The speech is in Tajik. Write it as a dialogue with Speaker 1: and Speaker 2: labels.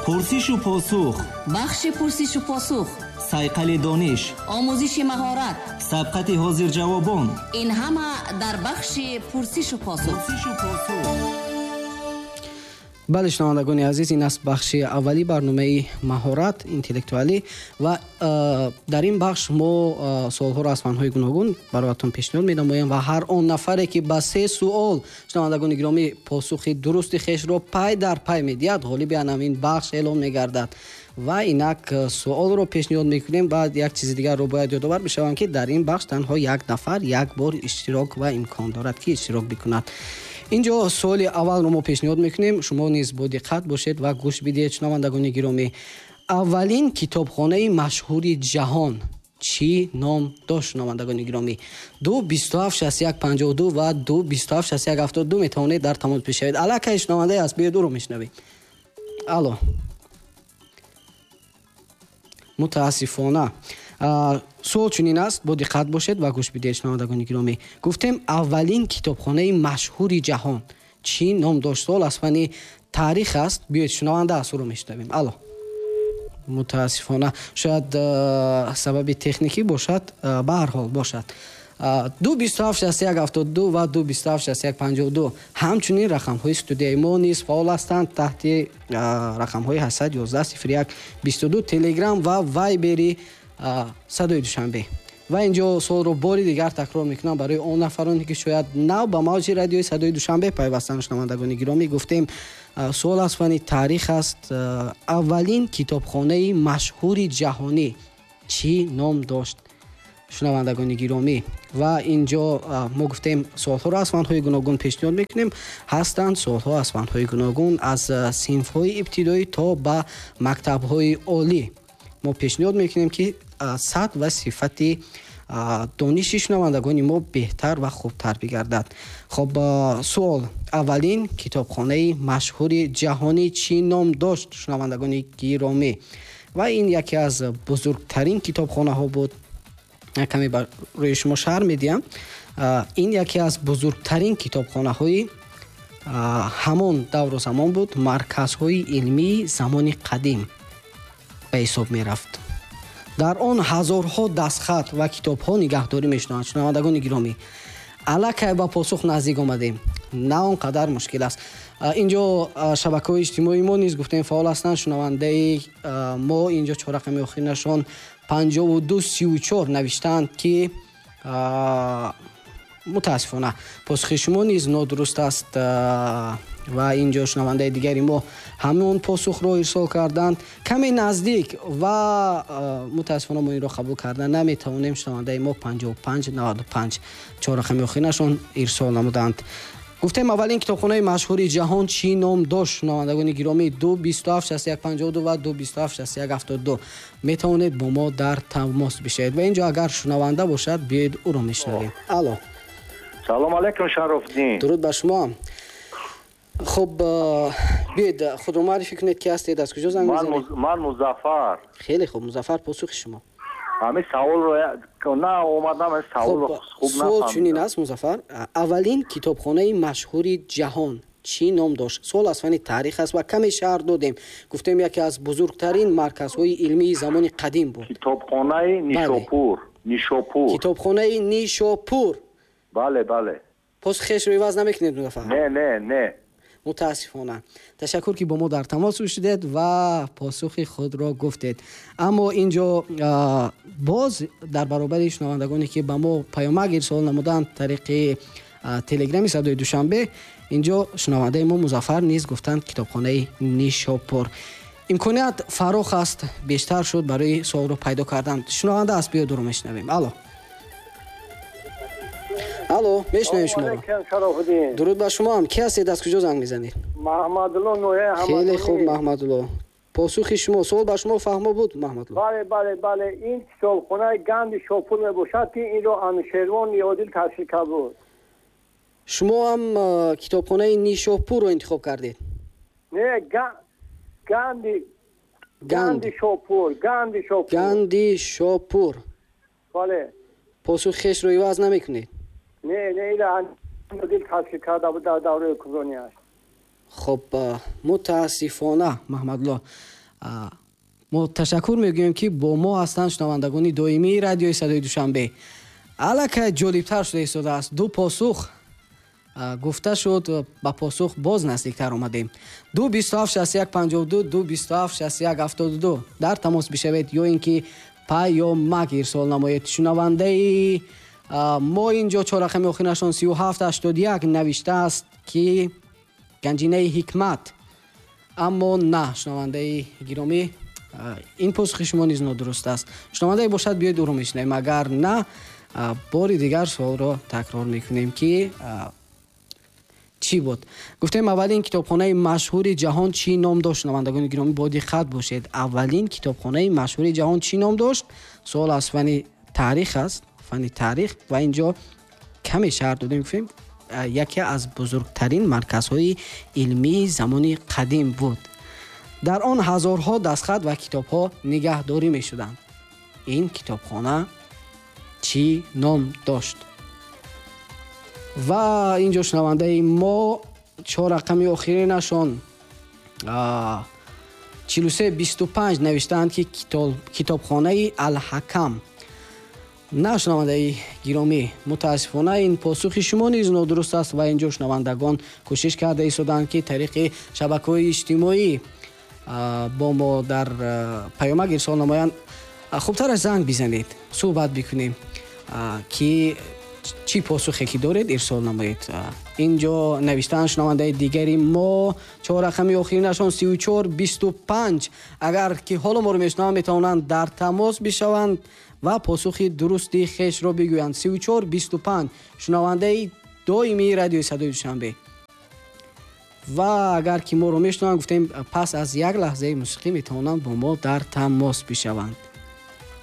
Speaker 1: Пурсишу посух,
Speaker 2: бахши пурсишу посух,
Speaker 1: сайқали дониш,
Speaker 2: омӯзиши маҳорат,
Speaker 1: сабқати ҳозирҷавобон.
Speaker 2: Ин ҳама дар бахши пурсишу посух.
Speaker 3: Бале, шунавандагони азиз, ин аст бахши аввали барномаи маҳорат интеллектуалӣ ва дар ин бахш мо суолҳоро аз фанҳои гуногун бароятон пешниҳод менамоем ва ҳар он нафаре ки ба се суол, шунавандагони гиромӣ, посухи дурусти хешро пай дар пай медиҳад, ғолиби ҳамин бахш эълон мегардад. Ва инак суолро пешниҳод мекунем. Баъд як чизи дигарро бояд ёдовар бишавам, ки дар ин бахш танҳо як нафар як бор иштирок ва имкон дорад, ки иштирок бикунад. Инҷо суоли аввалро мо пешниҳод мекунем, шумо низ бо диққат бошед ва гӯш бидиҳед, шунавандагони гиромӣ. Аввалин китобхонаи машҳури ҷаҳон чӣ ном дошт, шунавандагони гиромӣ? 2 27 61 52 ва 2 27 61 72 метавонед дар тамос бишавед. Аллакай шунавандаи аст, биёед ӯро мешунавем. Алло. Мутаассифона. Суол чунин аст, бо диққат бошед ва гӯш бидиҳед, шунавандагони гиромӣ. Гуфтем, аввалин китобхонаи машҳури ҷаҳон чӣ ном дошт? Суол аз фани таърих аст. Биёед, шунаванда аст, ӯро мешунавем. Алло. Мутаассифона, шояд сабаби техникӣ бошад, ба ҳар ҳол бошад. 2 27 61 72 ва 2 27 61 52 ҳамчунин рақамҳои студияи мо низ фаъол ҳастанд таҳти рақамҳои 811 01 22, Телеграм ва Вайбери Садои Душанбе. Ва инҷо суолро бори дигар такрор мекунам барои он нафароне, ки шояд нав ба мавҷи радиои Садои Душанбе пайвастанд. Шунавандагони гиромӣ, гуфтем, суол аз фани таърих аст. Аввалин китобхонаи машҳури ҷаҳонӣ чӣ ном дошт, шунавандагони гиромӣ? Ва инҷо мо гуфтем, суолҳоро аз фанҳои гуногун пешниҳод мекунем. Ҳастанд суолҳо аз фанҳои гуногун, аз синфҳои ибтидоӣ то ба мактабҳои олӣ. Мо пешниҳод мекунем, ки сатҳ ва сифати дониши шунавандагони мо беҳтар ва хубтар бигардад. Хоб, суол: аввалин китобхонаи машҳури ҷаҳонӣ чӣ ном дошт, шунавандагони гиромӣ? Ва ин яке аз бузургтарин китобхонаҳо буд. Каме барои шумо шарҳ медиҳам. Ин яке аз бузургтарин китобхонаҳои ҳамон давру замон буд, марказҳои илмии замони қадим ба ҳисоб мерафт. Дар он ҳазорҳо дастхат ва китобҳо нигаҳдорӣ мешуданд. Шунавандагони гиромӣ, аллакай ба посух наздик омадем, на он қадар мушкил аст. Инҷо шабакаҳои иҷтимоии мо низ, гуфтем, фаъол ҳастанд. Шунавандаи мо инҷо чорақами охиринашон 52 34 навиштаанд, ки мутаассифона посухи шумо низ нодуруст аст. Ва инҷо шунавандаи дигари мо ҳамон посухро ирсол карданд, каме наздик, ва мутаассифона мо инро қабул карда наметавонем. Шунавандаи мо 55 95 чорақами охиринашон ирсол намуданд. Гуфтем, аввалин китобхонаи машҳури ҷаҳон чӣ ном дошт, шунавандагони гиромӣ? 2 27 61 52 ва 2 27 61 72 метавонед бо мо дар тамос бишавед. Ва инҷо агар шунаванда бошад, биёед ӯро мешунавем. Алло.
Speaker 4: Салом алейкум, Шарофиддин.
Speaker 3: Дуруд ба шумо. Хуб, биёед, худро муаррифӣ кунед, ки ҳастед, аз куҷо занг мезанед?
Speaker 4: Ман Музаффар.
Speaker 3: Хеле хуб, Музаффар, посухи шумо?
Speaker 4: Ҳамин саволро на омадам, саволро хуб
Speaker 3: суол чунин аст, Музаффар: аввалин китобхонаи машҳури ҷаҳон чӣ ном дошт? Суол аз фани таърих аст ва каме шарҳ додем, гуфтем, яке аз бузургтарин марказҳои илмии замони қадим буд.
Speaker 4: Китобхонаи Нишопур. Нишопур.
Speaker 3: Китобхонаи Нишопур.
Speaker 4: Бале, бале.
Speaker 3: Посухешро иваз намекунед, Музаффар?
Speaker 4: Не, не, не.
Speaker 3: Мутаассифона. Ташаккур, ки бо мо дар тамос шудед ва посухи худро гуфтед. Аммо инҷо боз дар баробари шунавандагоне, ки ба мо паёмак ирсол намуданд тариқи Телеграми Садои Душанбе, инҷо шунавандаи мо Музаффар низ гуфтанд китобхонаи Нишопур. Имконият фарох аст, бештар шуд барои суолро пайдо кардан. Шунаванда аст, биё дуро мешунавем. Алло. Алло, мешунавем шуморо. Дуруд ба шумо ҳам. Ки ҳастед, аз куҷо занг мезанед?
Speaker 5: Маҳмадулло, ноҳияи Ҳамадонӣ.
Speaker 3: Хеле хуб, Маҳмадулло, посухи шумо, суол ба шумо фаҳмо буд, Маҳмадулло?
Speaker 5: Бале, бале, бале, ин китобхонаи Ганди Шопур мебошад, ки инро Анушервон Одил таъсис карда буд.
Speaker 3: Шумо ҳам китобхонаи Нишопурро интихоб кардед?
Speaker 5: Не, Ганди, Ганди Шопур, Ганди Шопур.
Speaker 3: Ганди Шопур.
Speaker 5: Бале.
Speaker 3: Посухи хешро иваз намекунед?
Speaker 5: Не, не, инро Одил таъсис карда буд дар давраи ҳукмронияш.
Speaker 3: Хуб, мутаассифона, Маҳмадулло, Мо ташаккур мегӯем, ки бо мо ҳастанд шунавандагони доимии радиои Садои Душанбе. Аллакай ҷолибтар шуда истодааст. Ду посух гуфта шуд, ба посух боз наздиктар омадем. 2 27 61 52, 2 27 61 72 дар тамос бишавед ё ин ки паёмак ирсол намоед. Шунавандаи мо инҷо чор рақами охирашон 37 81 навиштааст, ки ганҷинаи ҳикмат. Аммо на, шунавандаи гиромӣ, ин посухи шумо низ нодуруст аст. Шунавандае бошад, биёед ӯро мешунавем. Агар на, бори дигар суолро такрор мекунем, ки чӣ буд? Гуфтем, аввалин китобхонаи машҳури ҷаҳон чӣ ном дошт? Шунавандагони гиромӣ, бо диққат бошед. Аввалин китобхонаи машҳури ҷаҳон чӣ ном дошт? Суол аз фани таърих аст, фани таърих, ва инҷо каме шарҳ додем, гуфтем, яке аз бузургтарин марказҳои илмии замони қадим буд. Дар он ҳазорҳо дастхат ва китобҳо нигаҳдорӣ мешуданд. Ин китобхона чӣ ном дошт? Ва инҷо шунавандаи мо чор рақами охиринашон 43 25 навиштаанд, ки китобхонаи Алҳакам. На, шунавандаи гиромӣ, мутаассифона, ин посухи шумо низ нодуруст аст. Ва инҷо шунавандагон кӯшиш карда истоданд, ки тариқи шабакаҳои иҷтимоӣ бо мо дар паёмак ирсол намоянд. Хубтараш занг бизанед, суҳбат бикунем, ки чӣ посухе ки доред, ирсол намоед. Инҷо навиштаанд шунавандаи дигари мо, чор рақами охиринашон 34 25. Агар ки ҳоло моро мешунаванд, метавонанд дар тамос бишаванд ва посухи дурусти хешро бигӯянд. 34 25, шунавандаи доимии радиои Садои Душанбе. Ва агар ки моро мешунаванд, гуфтем, пас аз як лаҳзаи мусиқӣ метавонанд бо мо дар тамос бишаванд.